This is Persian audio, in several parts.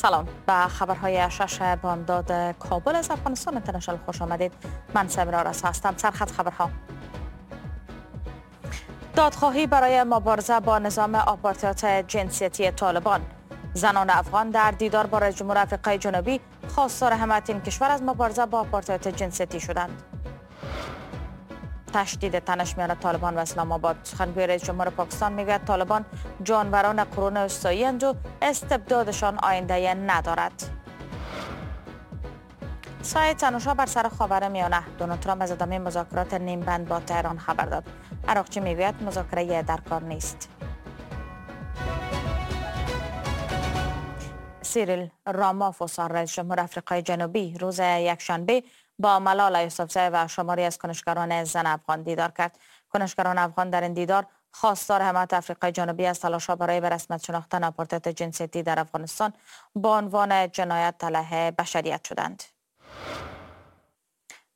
سلام، به خبرهای 6 بامداد کابل از افغانستان اینترنشنال خوش آمدید. من سمیرا رسا هستم. سرخط خبرها: دادخواهی برای مبارزه با نظام آپارتاید جنسیتی طالبان. زنان افغان در دیدار با رئیس جمهور افریقای جنوبی خواستار حمایت این کشور از مبارزه با آپارتاید جنسیتی شدند. تشدید تنش میان طالبان و اسلام آباد. سخنگوی رئیس جمهور پاکستان میگوید طالبان جانوران قرون وسطایی اند و استبدادشان آینده ندارد. سایه تنش‌ها بر سر خاورمیانه. دونالد ترامپ از ادامه مذاکرات نیم بند با تهران خبر داد. عراقچی میگوید مذاکره در کار نیست. سیریل رامافوسا رئیس جمهور افریقای جنوبی روز یکشنبه با ملاله یوسفزای و شماری از کنشگران زن افغان دیدار کرد. کنشگران افغان در این دیدار خواستار حمایت افریقای جنوبی از تلاش‌ها برای به رسمیت شناختن آپارتاید جنسیتی در افغانستان با عنوان جنایت علیه بشریت شدند.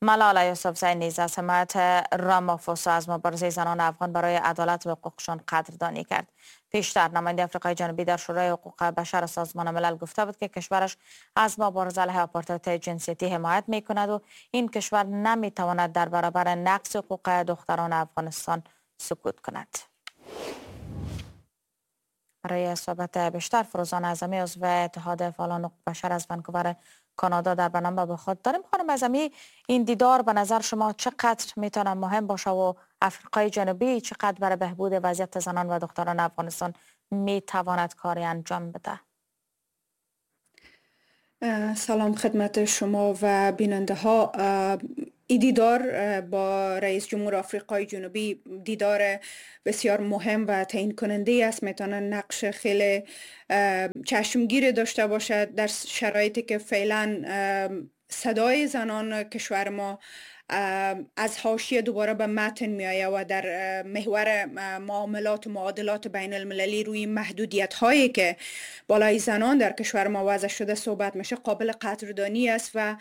ملاله یوسفزای نیز از حمایت رامافوسا از مبارزه زنان افغان برای عدالت و حقوقشان قدردانی کرد. پیشتر نماینده افریقای جنوبی در شورای حقوق بشر سازمان ملل گفته بود که کشورش از مبارزه علیه آپارتاید جنسیتی حمایت می کند و این کشور نمی تواند در برابر نقض حقوق دختران افغانستان سکوت کند. برای صحبت بیشتر فروزان اعظمی عضو اتحاد فعالان حقوق بشر از ونکوور کانادا در برنامه با خود داریم. خانم اعظمی، این دیدار به نظر شما چقدر میتونه مهم باشه و افریقای جنوبی چقدر برای بهبود وضعیت زنان و دختران افغانستان میتواند کاری انجام بده؟ سلام خدمت شما و بیننده ها. این دیدار با رئیس جمهور آفریقای جنوبی دیدار بسیار مهم و تعیین کننده است. میتونه نقش خیلی چشمگیر داشته باشد در شرایطی که فعلا صدای زنان کشور ما از حاشیه دوباره به متن میآید و در محور معاملات و معادلات بین المللی روی محدودیت هایی که بالای زنان در کشور ما وضع شده صحبت میشه، قابل قدردانی است و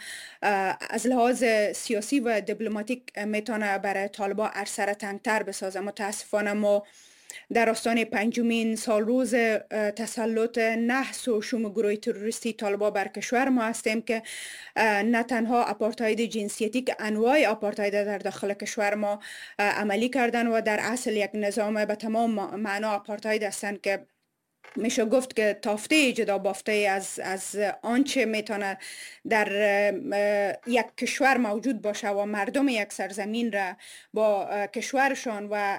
از لحاظ سیاسی و دیپلماتیک میتونه برای طالبان عرصه را تنگتر بسازه. متاسفانه ما در آستانه 5مین سال روز تسلط نحس و شوم گروه تروریستی طالبان بر کشور ما هستیم که نه تنها آپارتاید جنسیتی که انواع آپارتاید در داخل کشور ما عملی کردن و در اصل یک نظام به تمام معنا آپارتاید هستند که میشه گفت که تافته جدا بافته از آنچه میتونه در یک کشور موجود باشه و مردم یک سرزمین را با کشورشان و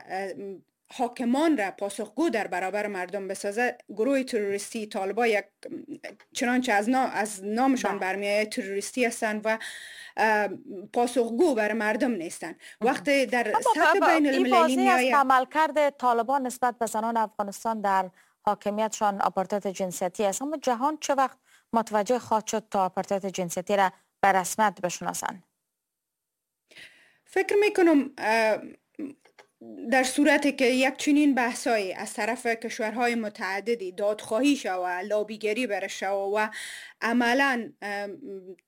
حاکمان را پاسخگو در برابر مردم بسازه. گروه تروریستی طالبان یک چنانچه از نامشان برمیآید تروریستی هستند و پاسخگو بر مردم نیستند. وقتی در سطح بین المللی میآید عملکرد طالبان نسبت به زنان افغانستان در حاکمیتشان آپارتاید جنسیتی است، اما جهان چه وقت متوجه خواهد شد تا آپارتاید جنسیتی را به رسمیت بشناسند؟ فکر میکنم در صورتی که یک چنین بحثایی از طرف کشورهای متعددی دادخواهی شود، لابیگری برش شود و عملاً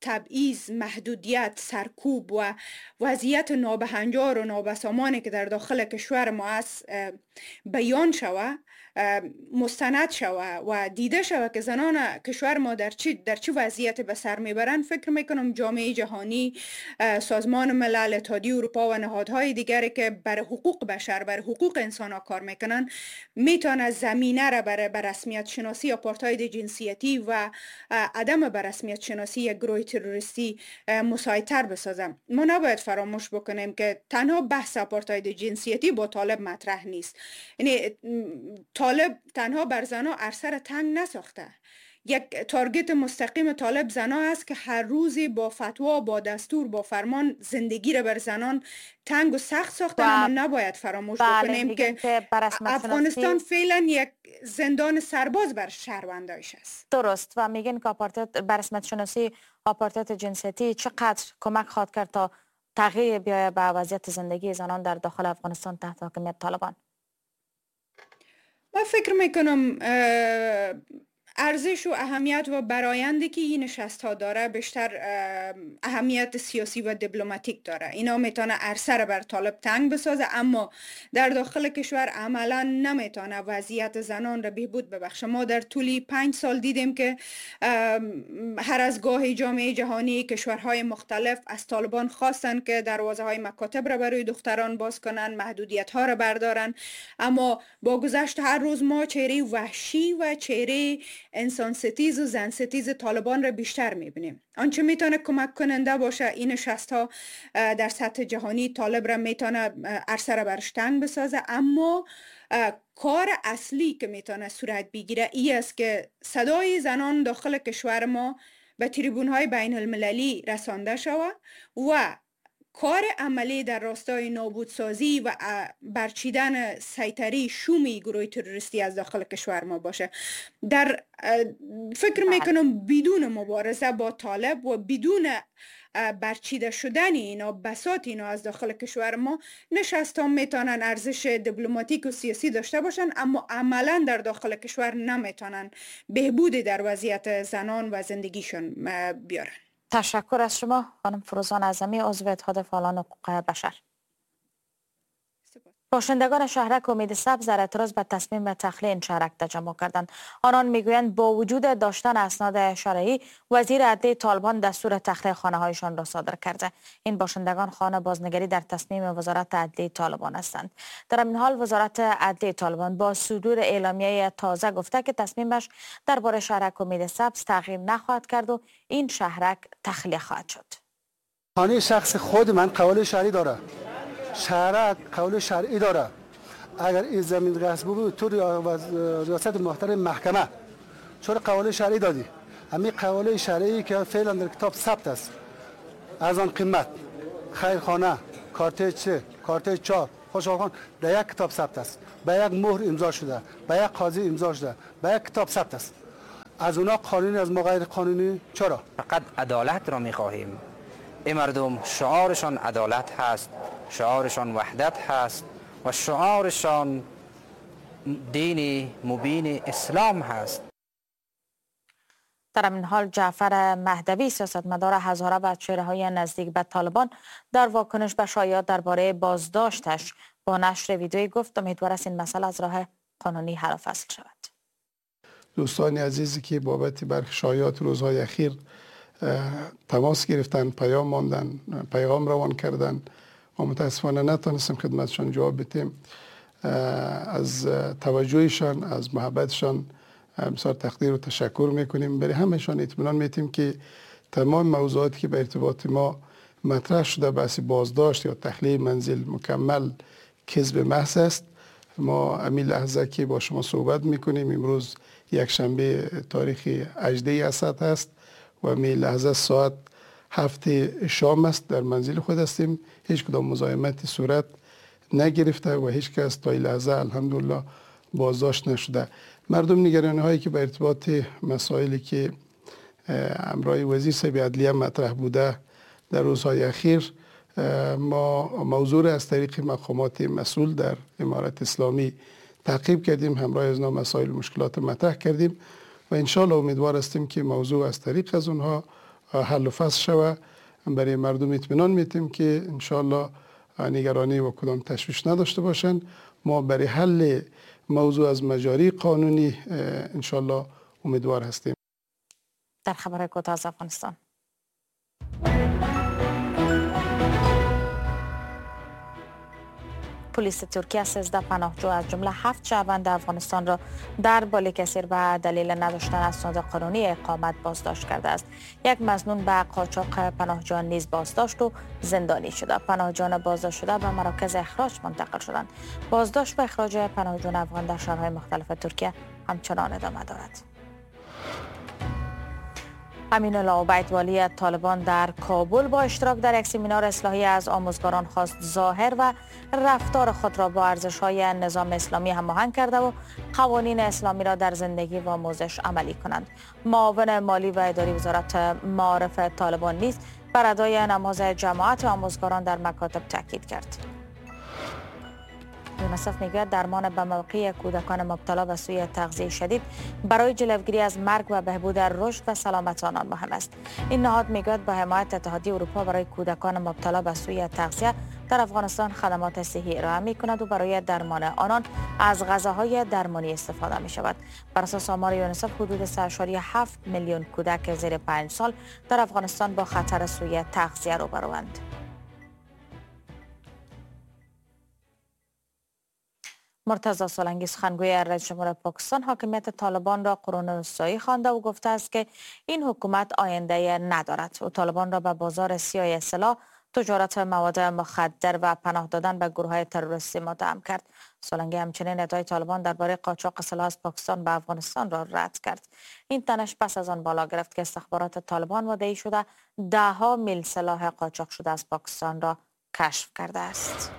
تبعیض، محدودیت، سرکوب و وضعیت نابهنجار و نابسامانی که در داخل کشور ما است بیان شود، مستند شود و دیده شود که زنان کشور ما در چه وضعیت به سر میبرند، فکر میکنم جامعه جهانی، سازمان ملل، اتحادیه اروپا و نهادهای دیگری که بر حقوق بشر، بر حقوق انسان ها کار میکنن، میتونه زمینه را برای به رسمیت شناسی آپارتاید جنسیتی و عدم به رسمیت شناسی یک گروه تروریستی مساعدتر بسازه. ما نباید فراموش بکنیم که تنها بحث آپارتاید جنسیتی با طالب مطرح نیست. یعنی طالب تنها بر زنها عرصه را تنگ نساخته. یک تارگت مستقیم طالب زنها است که هر روزی با فتوا، با دستور، با فرمان زندگی را بر زنان تنگ و سخت ساختن. اما نباید فراموش بکنیم که افغانستان فعلا یک زندان سرباز بر شهروندایش است. درست. و میگن که آپارتاید بر رسمیت شناسی آپارتاید جنسیتی چقدر کمک خواهد کرد تا تغییر بیاید به وضعیت زندگی زنان در داخل افغانستان تحت حاکمیت طالبان؟ من فکر میکنم ارزش و اهمیت و برآیندی که این نشست ها داره بیشتر اهمیت سیاسی و دیپلماتیک داره. اینا میتونه عرصه را بر طالب تنگ بسازه، اما در داخل کشور عملا نمیتونه وضعیت زنان را بهبود ببخشه. ما در طول 5 سال دیدیم که هر از گاه جامعه جهانی، کشورهای مختلف از طالبان خواستن که دروازه های مکاتب را برای دختران باز کنن، محدودیت ها را بردارن، اما با گذشت هر روز ما چهره وحشی و چهره انسان ستیز و زن ستیز طالبان را بیشتر میبینیم. آنچه میتونه کمک کننده باشه این نشست ها در سطح جهانی طالب را میتونه عرصه را برش تنگ بسازه، اما کار اصلی که میتونه صورت بگیره ای است که صدای زنان داخل کشور ما به تریبون های بین المللی رسانده شود و کار عملی در راستای نابودسازی و برچیدن سیطره شومی گروه تروریستی از داخل کشور ما باشه. در فکر میکنم بدون مبارزه با طالب و بدون برچیده شدن اینا، بساط اینا از داخل کشور ما، نشست ها میتونن ارزش دیپلماتیک و سیاسی داشته باشن، اما عملا در داخل کشور نمیتونن بهبودی در وضعیت زنان و زندگیشون بیارن. تشکر از شما خانم فروزان اعظمی، عضو اتحاد فعالان حقوق بشر. باشندگان شهرک امید سبز در اعتراض به تصمیم تخلیه این شهرک تجمع کردند. آنان میگویند با وجود داشتن اسناد شرعی، وزیر عدلیه طالبان دستور تخلیه خانه هایشان را صادر کرده. این باشندگان خانه بازنگری در تصمیم وزارت عدلیه طالبان هستند. در این حال وزارت عدلیه طالبان با صدور اعلامیه تازه گفته که تصمیمش درباره شهرک امید سبز تغییر نخواهد کرد و این شهرک تخلیه خواهد شد. خانه شخص خود من قول شرعی داره، شهرک قول شرعی داره. اگر این زمین غصب بود تو ریاست محترم محکمه چرا قول شرعی دادی؟ همین قول شرعی که فعلا در کتاب ثبت است، از آن قیمت خیرخانه کارت 3 کارت 4 خوشحال خان در یک کتاب ثبت است، به یک مهر امضا شده، به یک قاضی امضا شده، به یک کتاب ثبت است. از اونا قانونی، از ما غیر قانونی چرا؟ فقط عدالت را میخواهیم. این مردم شعارشان عدالت هست، شعارشان وحدت هست و شعارشان دین مبین اسلام هست. در این حال جعفر مهدوی، سیاستمدار هزاره و چهره‌های نزدیک به طالبان، در واکنش به شایعات درباره بازداشتش با نشر ویدیویی گفت امیدوار است این مسئله از راه قانونی حل و فصل شود. دوستان عزیزی که بابت برخی شایعات روزهای اخیر تماس گرفتن، پیام ماندن، پیغام روان کردن و متاسفانه نتونستم خدمتشان جواب بدیم، از توجهشان، از محبتشان بسیار تقدیر و تشکر میکنیم. برای همشان اطمینان میتیم که تمام موضوعاتی که به ارتباط ما مطرح شده، بحث بازداشت یا تخلیه منزل، مکمل کذب محض است. ما همین لحظه که با شما صحبت میکنیم، امروز یک شنبه تاریخ 18 اسد است و می لحظه ساعت 7 شام است، در منزل خود هستیم. هیچ کدام مزاحمت صورت نگرفته و هیچ کس تا این لحظه الحمدلله بازداشت نشده. مردم نگرانی هایی که به ارتباط مسائلی که همراه وزیر صاحب عدلیه مطرح بوده در روزهای اخیر، ما موضوع را از طریق مقامات مسئول در امارت اسلامی تعقیب کردیم، همراه از مسائل مشکلات مطرح کردیم و انشالله امیدوار هستیم که موضوع از طریق از اونها حل و فصل شود. برای مردم اطمینان میتیم که انشالله نگرانی و کدام تشویش نداشته باشند. ما برای حل موضوع از مجاری قانونی انشالله امیدوار هستیم. در خبر کوتاه از افغانستان، پلیس ترکیه 13 پناهجو از جمله 7 شهروند افغانستان را در بالیکسیر به دلیل نداشتن اسناد قانونی اقامت بازداشت کرده است. یک مظنون به قاچاق پناهجویان نیز بازداشت و زندانی شده. پناهجویان بازداشت شده به مراکز اخراج منتقل شدند. بازداشت و اخراج پناهجویان افغان در شهرهای مختلف ترکیه همچنان ادامه دارد. امین الله عبید، والی طالبان در کابل، با اشتراک در یک سمینار اصلاحی از آموزگاران خواست ظاهر و رفتار خود را با ارزش‌های نظام اسلامی هماهنگ کرده و قوانین اسلامی را در زندگی و آموزش عملی کنند. معاون مالی و اداری وزارت معارف طالبان نیز بر ادای نماز جماعت آموزگاران در مکاتب تاکید کرد. یونیسف میگوید درمان به موقع کودکان مبتلا به سوء تغذیه شدید برای جلوگیری از مرگ و بهبود رشد و سلامت آنان مهم است. این نهاد میگوید با حمایت اتحادیه اروپا برای کودکان مبتلا به سوء تغذیه در افغانستان خدمات صحی ارائه می کند و برای درمان آنان از غذاهای درمانی استفاده می شود. بر اساس آمار یونیسف حدود 3.7 میلیون کودک زیر 5 سال در افغانستان با خطر سوء تغذیه روبروند. مرتضی سولنگی سخنگوی رئیس جمهور پاکستان حاکمیت طالبان را قرون وسطایی خوانده و گفته است که این حکومت آینده ندارد. او طالبان را به بازار سیاه سلاح، تجارت مواد مخدر و پناه دادن به گروه‌های تروریستی متهم کرد. سولنگی همچنین ادعای طالبان درباره قاچاق سلاح از پاکستان به افغانستان را رد کرد. این تنش پس از آن بالا گرفت که استخبارات طالبان مدعی شده ده‌ها میل سلاح قاچاق شده از پاکستان را کشف کرده است.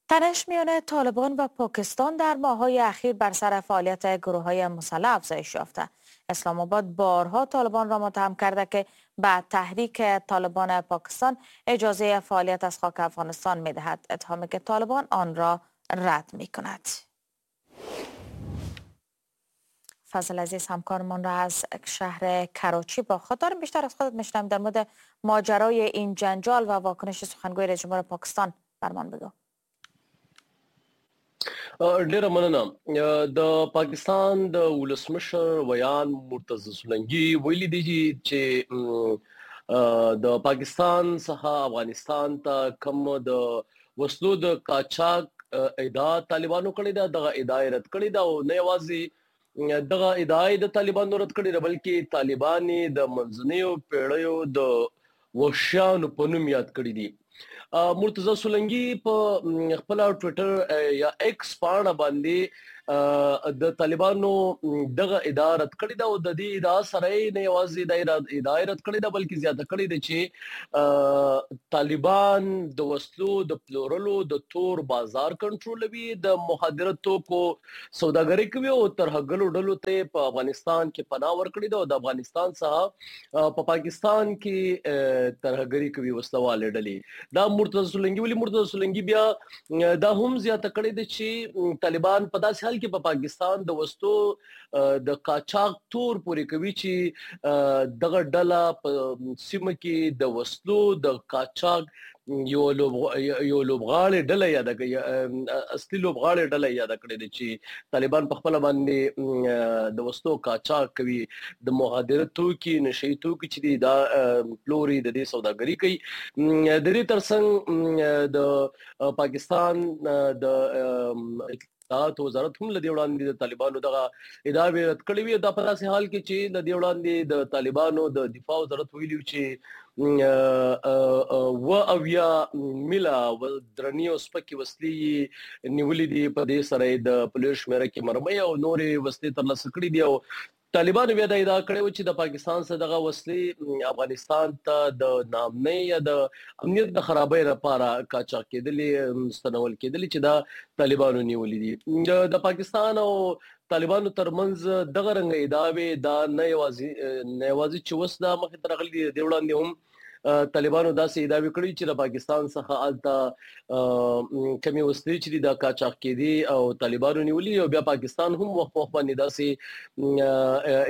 تنش میان طالبان و پاکستان در ماه‌های اخیر بر سر فعالیت گروه‌های مسلح افزایش یافته. اسلام آباد بارها طالبان را متهم کرده که به تحریک طالبان پاکستان اجازه فعالیت از خاک افغانستان می‌دهد، اتهامی که طالبان آن را رد می‌کند. فضل عزیز همکارمان را از شهر کراچی با خود داریم. بیشتر از خودت می‌شنویم در مورد ماجرای این جنجال و واکنش سخنگوی رئیس جمهور پاکستان. برمان بگو. ډیره مننه. د پاکستان د ولسمشر ویان مرتضی سولنګي ویلي دي چې د پاکستان څخه افغانستان ته کوم د وسلو د قاچاق ادعا طالبانو کړې ده، دغه ادعا یې رد کړې ده او نه یوازې دغه ادعا یې د طالبانو رد کړې ده، بلکې طالبان یې د منځنیو پیړیو د وحشیانو په نوم یاد کړي دي. مرتضی سولنګي په خپل ټوئیټر یا ایکس پاڼه باندې د طالبانو دغه ادعا رد کړې ده او د دې ادعا سره یې نه یوازې د ادعا رد کړې ده، بلکې زیاته کړې ده چې طالبان د وسلو د پلورلو د تور بازار کنټرولوي، د مخدره توکو سوداګري کوي او ترهګرو ډلو ته په افغانستان کې پناه ورکړې ده او د افغانستان څخه په پاکستان کې ترهګري کوي وسلهوالې ډلې. دا مرتضی سولنګي ولې مرتضی سولنګي بیا دا هم زیاته کړې ده چې طالبان په داسې حال کې په پاکستان د وسلو د قاچاق تور پورې کوي چې دغه ډله په سیمه کې د وسلو د قاچاق یو لوبغاړې ډله یاده کړې، اصلي لوبغاړې ډله یاده کړې ده چې طالبان په خپله باندې د وسلو قاچاق کوي، د مخدره توکي، نشه یي توکي چې دي دا پلوري، د دې سوداګري کوي. د دې ترڅنګ د پاکستان د اطلاعات وزارت هم له دې وړاندې د طالبانو دغه ادعاوې رد کړې وې. دا په داسې حال کې چې له دې وړاندې د طالبانو د دفاع وزارت ویلي چې 77 میله درنې او سپکې وسلې یې نیولې دي، په دې سره یې د پولیو شمېره کې مرمۍ او نورې وسلې ترلاسه کړې دي. او طالبانو بیا دا ادعا کړې وه چې د پاکستان څخه دغه وسلې افغانستان ته د ناامنۍ یا د امنیت د خرابۍ لپاره قاچاق کېدلې، ستنول کېدلې چې دا طالبانو نیولې دي. د پاکستان او طالبانو ترمنځ دغه رنګ ادعاوې دا نه یوازې چې اوس دا مخې ته راغلي دي، د دې وړاندې هم طالبانو داسې ادعاوې کړې چې د پاکستان څخه هلته کمې وسلې چې دي دا قاچاق کېدې او طالبانو نیولي، او بیا پاکستان هم وخت په وخت باندې داسې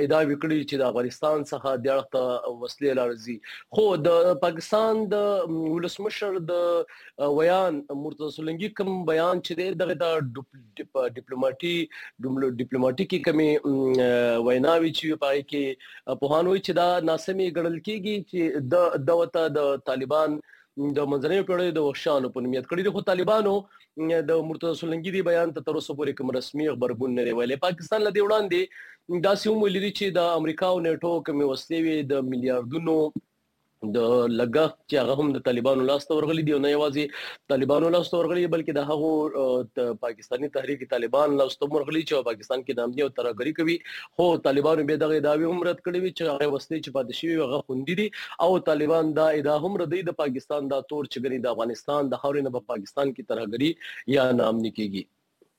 ادعاوې کړې چې د افغانستان څخه دې اړخ ته وسلې راځي. خو د پاکستان د ولسمشر د ویان مرتضی سولنګي کوم بیان چې دی دغه د ډیپلوماټیکې کمې ویناوې چې په هغې کې پوهان وایي چې دا ناسمې ګڼل کېږي چې د د طالبان د منځنیو پیړیو د وحشیانو په نوم یاد کړي دي. خو طالبانو د مرتضی سولنګي دې بیان ته تر اوسه پورې کوم رسمي غبرګون نه دی ویلی. پاکستان له دې وړاندې داسې هم ویلي دي چې د امریکا او نیټو کومې وسلې وې د میلیاردونو د لګښت چې هغه هم د طالبانو لاس ته ورغلي دي، او نه یوازې طالبانو لاس ته ورغلي بلکې د هغو پاکستاني تحریک طالبان لاس ته هم ورغلي چې په پاکستان کې ناامني او ترهګري کوي. خو طالبانو بیا دغه ادعاوې هم رد کړې وې چې هغه وسلې چې پاتې شوي هغه خوندي دي، او طالبان دا ادعا هم ردوي د پاکستان دا تور چې ګنې د افغانستان د خاورې نه په پاکستان کې ترهګري یا ناامني کیږي.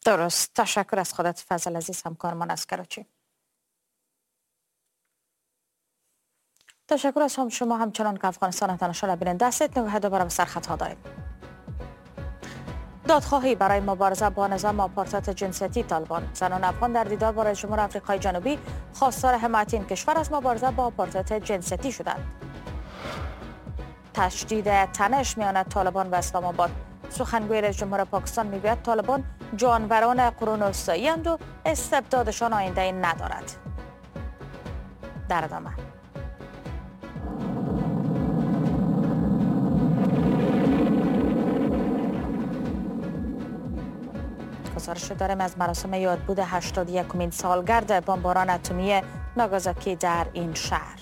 درست. تشکر از خودت فضل عزیز همکارمان از کراچی. تشکر از هم شما همچنان که افغانستان اینترنشنال بیننده هستید. نگاه دوباره به سرخطها داریم. دادخواهی برای مبارزه با نظام آپارتاید جنسیتی طالبان. زنان افغان در دیدار با رئیس جمهور آفریقای جنوبی خواستار حمایت این کشور از مبارزه با آپارتاید جنسیتی شدند. تشدید تنش میان طالبان و اسلام آباد. سخنگوی رئیس جمهور پاکستان میگوید طالبان جانوران قرون وسطایی اند و استبدادشان آینده ندارد. در ادامه گزارش داریم از مراسم یادبود 81مین سالگرد بمباران اتمی ناگازاکی در این شهر.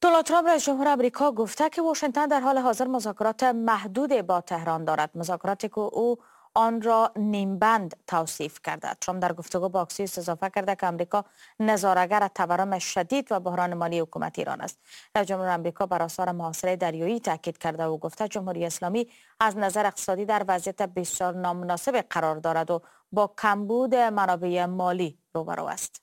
دونالد ترامپ رئیس جمهور آمریکا گفته که واشنگتن در حال حاضر مذاکرات محدود با تهران دارد، مذاکراتی که او آن را نیمبند توصیف کرده. ترامپ در گفتگو با اکسیوس اضافه کرده که آمریکا نظاره‌گر تورم شدید و بحران مالی حکومت ایران است. رئیس جمهور آمریکا بر آثار محاصره دریایی تاکید کرده و گفته جمهوری اسلامی از نظر اقتصادی در وضعیت بسیار نامناسب قرار دارد و با کمبود منابع مالی روبرو است.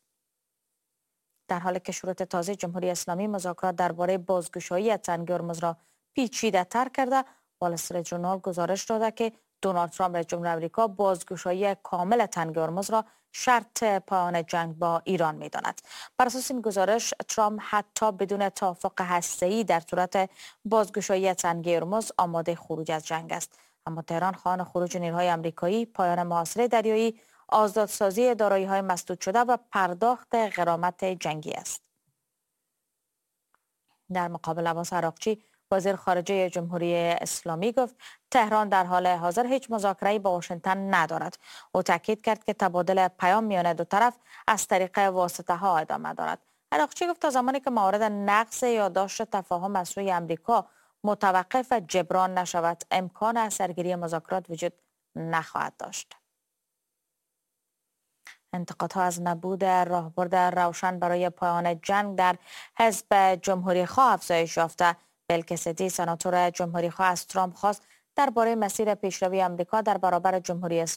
در حالی که شروط تازه جمهوری اسلامی مذاکرات درباره بازگشایی تنگه هرمز را پیچیده‌تر کرده، وال استریت ژورنال گزارش داده که دونالد ترامپ رئیس جمهور آمریکا بازگشایی کامل تنگه هرمز را شرط پایان جنگ با ایران می‌داند. بر اساس این گزارش ترامپ حتی بدون توافق هسته‌ای در صورت بازگشایی تنگه هرمز آماده خروج از جنگ است. اما تهران خواهان خروج نیروهای آمریکایی، پایان محاصره دریایی، آزادسازی دارایی‌های مسدود شده و پرداخت غرامت جنگی است. در مقابل عباس عراقچی وزیر خارجه جمهوری اسلامی گفت تهران در حال حاضر هیچ مذاکره‌ای با واشنگتن ندارد. او تاکید کرد که تبادل پیام میان دو طرف از طریق واسطه ها ادامه دارد. عراقچی گفت تا زمانی که موارد نقض یادداشت تفاهم از سوی آمریکا متوقف و جبران نشود، امکان اثرگیری مذاکرات وجود نخواهد داشت. انتقادها از نبود راهبرد روشن برای پایان جنگ در حزب جمهوری خواه افزایش یافته. بیل کسدی سناتور جمهوری خواه از ترامپ خواست درباره مسیر پیشروی آمریکا در برابر جمهوری اسلامی